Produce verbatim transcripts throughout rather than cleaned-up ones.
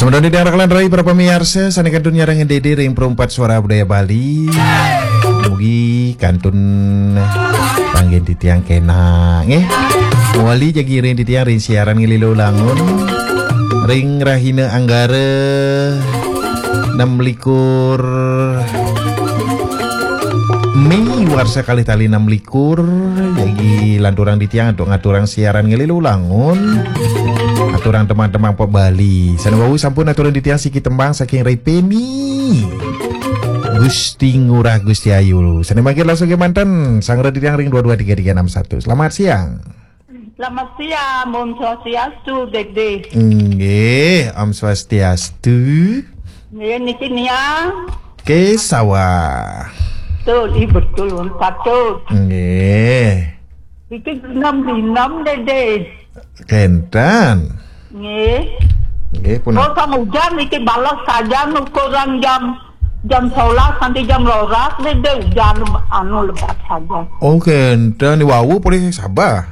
Semeton titiang raka lan rai para pamiarsa sané kantun nyarengin Dédé ring Perempat Suara Budaya Bali. Mugi kantun panggihin titiang kénak nggih. Mawali jagi ring titiang ring siaran Ngelila Ulangun ring rahina Anggara enam likur Mei warsa kalih tali enam likur, jagi lanturang titiang antuk ngaturang siaran Ngelila Ulangun. Aturang teman-teman pop Bali. Sané wau sampun aturang titiang siki tembang saking Rai Peni. Gusti Ngurah Gusti Ayu. Sané mangkin langsung kémanten, sanggra titiang ring dua dua tiga tiga enam satu. Selamat siang. Selamat siang, Om Swastiastu, Dédé. Nggih, Om Swastiastu. Nggih, niki Niang. Ke sawah. Betul, ih, betul, Om, patut. Nggih. Niki enam enam, Dédé. Kénten. Nggih. Nggih, pun. Oh, sang ujan niki balas saja ukuran jam, jam sebelas nanti jam roras, Dédé, ujan anu lebat saja. Oh, kénten, ni wau polih sabah.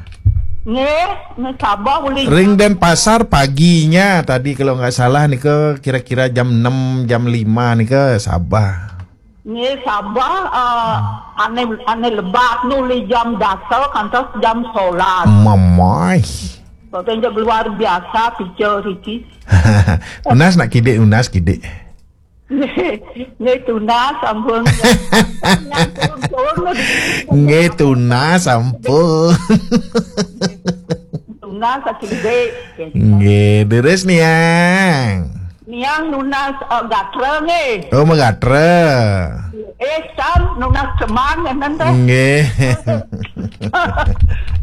Nggih, nggih, sabah polih. Ring Denpasar paginya tadi kalau nggak salah nika kira-kira jam enam, jam lima nika sabah. Nggih, sabah, eh, ané, ané lebat nu li jam dasa kantos jam sebelas. Mamai. Pokoknya luar biasa pica riki. Nunas nak kidik, nunas kidik. Nggih, nggih, tunas ampun. Nggih, tunas ampun. Tunas sakidik. Nggih, deres Niang. Niang nunas, eh, gatra nggih. Oh, magatra. Eh, Sam, nunas cemang, enten teh. Nggih.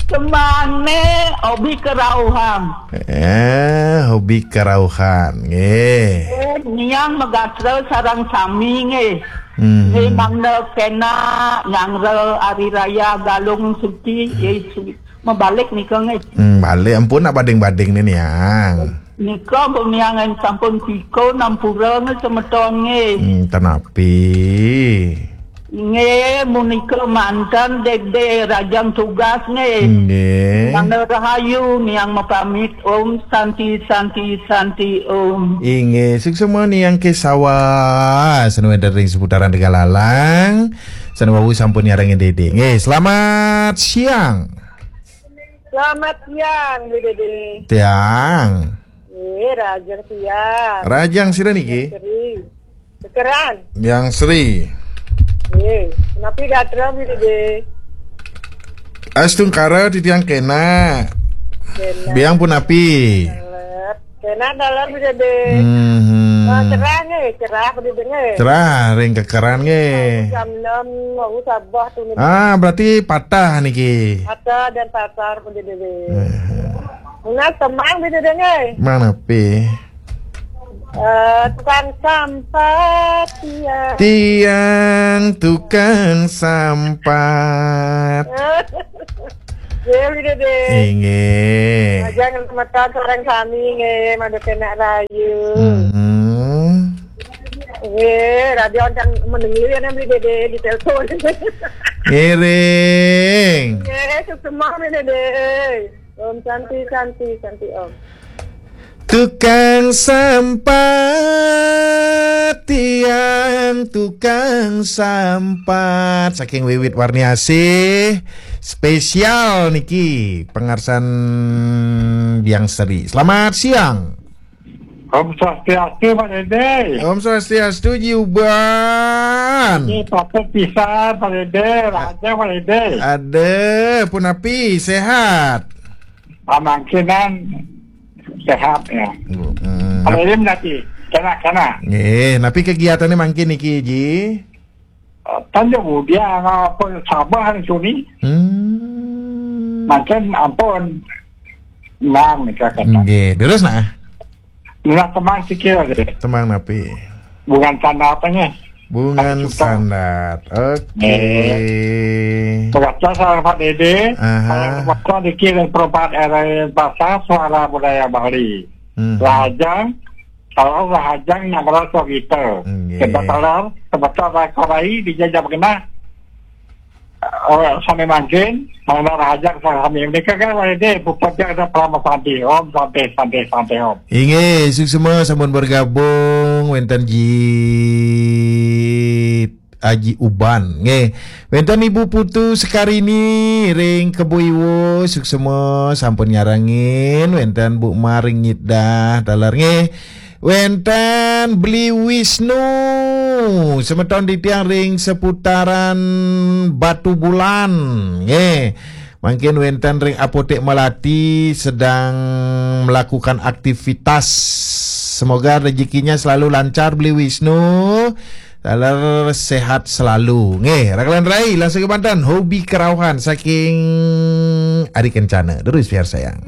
Cemang né hobi kerauhan. Eh, hobi kerauhan, nggih. Eh, Niang magatra sareng sami nggih. Hmm. Nggih, mangda kénak nyanggra Hari Raya Galung Suci, eh, su-, mabalik nika nggih. Hmm, balik ampun nak bading-bading ni Niang. Nika pun Niang sampun pika nampura nggih semeton nggih. Hmm, tenapi. Nggih, munika manten Dédé rajang tugas nggih. Nggih. Mangda rahayu Niang mapamit. Om Santi, Santi, Santi, Om. Inggih, suksma Niang Kesawa. Sané wénten ring seputaran Tegalalang. Sané wau sampun nyarengin Dédé. Nggih, selamat siang. Selamat siang, Bu Dédé. Tiang. Eh, rajang siang. Rajang sira niki? Sri. Kekeran. Yang Sri. Eh, napi gatra, Bu Dédé? Astungkara titiang kénak. Kénak. Biang punapi? Taler. Kénak taler, Bu Dédé. Mhm. Ah, cerah nggih, cerah, Bu Dédé nggih. Cerah, ring kekeran nggih. Jam enam, wau sabah tu niki. Ah, berarti patah niki. Patah dan pasar, Bu Dédé. Eh. Nunas cemang, Bu Dédé nggih. Manapi? Eh, tukang sampah, tiang. Tiang tukang sampah. Nggih, Bu Dédé. Inggih. Rajang semeton sareng sami nggih, mangda kénak rahayu. Hmm. Nggih, radio enten mendengar ya, Bu Dédé, di telepon. Ngiring. Nggih, suksma, Bu Dédé. Om Santi, Santi, Santi, Om. Tukang sampah, tiang tukang sampah. Saking Wiwit Warniasih, spesial niki pangarsan Biang Sri. Selamat siang. Om Swastiastu, Pak Dédé. Om Swastiastu, Jiuban. Ini patut pisan, Pak Dédé. Raja, Pak Dédé. Ada, punapi, sehat? Pamangkinan sehat ya. Hmm. Ada ini nanti, kena, kena. Nggih, napi kegiatannya mangkin niki, Ji? Eh, tanya bu, dia apa sabar hari Juni? Hmm. Macam ampun. Nang, nika kata. Nggih, terus nah. Nggak teman sikil deh. Teman napi? Bungan tanda apanya? Bungan Satu juta. Sandat. Oke. Eh. Terasa sama Pak Dede. Aha. Kalau waktu dikirim perubahan era bahasa suara budaya Bali. Hmm. Lajang, kalau Lajang yang merasa gitu. Nggih. Kebetulan, kebetulan korai dijajah kena. Oh, sami mangkin, mangda rajak sami. Mereka kan ada puput dia ada peramal santi. Om santi, santi, santi, om. Inggih, suksma sampun bergabung wénten Ji Aji Uban. Nggih. Wénten Ibu Putu Sekarini ring Kebo Iwo, suksma sampun nyarengin, wénten Bu Maring Nyidah taler nggih. Wénten Beli Wisnu, semeton titiang ring seputaran Batu Bulan, nggih. Mangkin wénten ring Apotek Melati sedang melakukan aktivitas. Semoga rezekinya selalu lancar, Beli Wisnu. Taler sehat selalu. Nggih, rakelan rai, langsung ke Banten. Hobi kerauhan saking Ari Kencana. Terus biar sayang.